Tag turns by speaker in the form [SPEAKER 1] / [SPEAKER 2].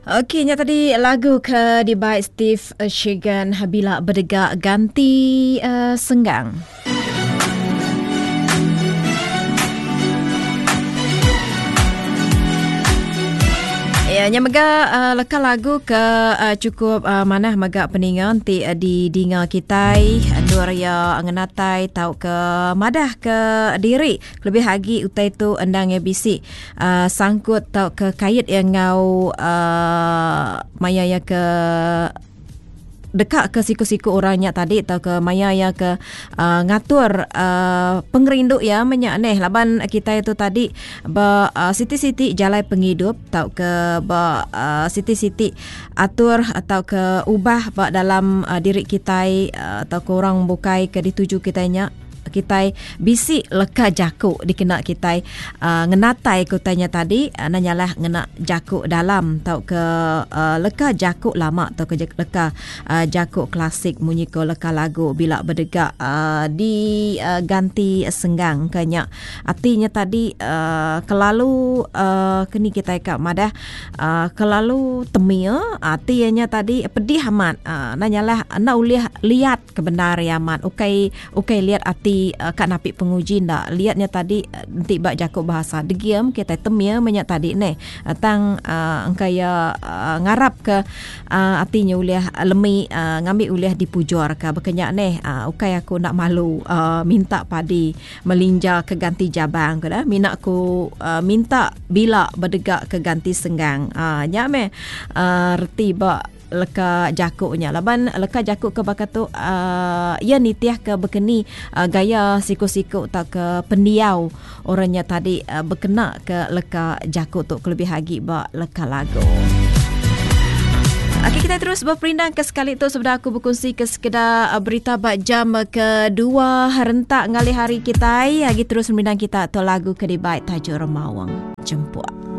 [SPEAKER 1] Okey nya tadi lagu ke dibai Steve Shigan bila bedega ganti uh, senggang. Ya, nya mega uh, leka lagu ke uh, cukup uh, manah mega peninga enti uh, didinga kitai endur ya ngenatai tau ke madah ke diri kelebih agi utai tu endang ya bisi uh, sangkut tau ke kait ya enggau uh, maya ya ke deka ke siku-siku orang nya tadi atau ke maya ya ke uh, ngatur uh, pengerindu ya menya neh laban kita itu tadi ba uh, siti-siti jalai pengidup atau ke ba uh, siti-siti atur atau ke ubah ba dalam uh, diri kita uh, atau ke orang bukai ke dituju kita nya kitai bisi leka jaku dikena kitai uh, ngenatai ke utai nya tadi uh, nanyalah ngena jaku dalam tauka uh, leka jaku lama tauka leka uh, jaku klasik munyi ko leka lagu bila bedega uh, diganti uh, senggang ke nya atinya tadi uh, kelalu uh, keni kitai ka madah uh, kelalu temia ati nya tadi pedih amat uh, nanyalah enda ulih liat Ke bendar iya amat ukai ukai liat ati ka napi penguji enda liat nya tadi enti ba jaku bahasa degim kitai temil meh nya tadi neh tang engka iya ngarap ke ati nya ulih lemi ngambi ulih dipujur ka baka nya neh ukai aku enda malu minta padi melinja ke ganti jabang ku dah mina ku minta bila bedega ke ganti senggang nya meh reti ba leka jaku nya laban leka jaku ke baka tu uh, iya nitih ke bekeni uh, gaya siku-siku tauka pendiau orang nya tadi uh, bekena ke leka jaku tu kelebih agi ba leka lagu. Okey kita terus berperindang ke sekali tu sebedau aku berkongsi ke sekeda berita ba jam kedua rentak ngalih hari kita. Lagi terus merindang kita tu lagu ke dibai Tajuk Remawang Jempuk.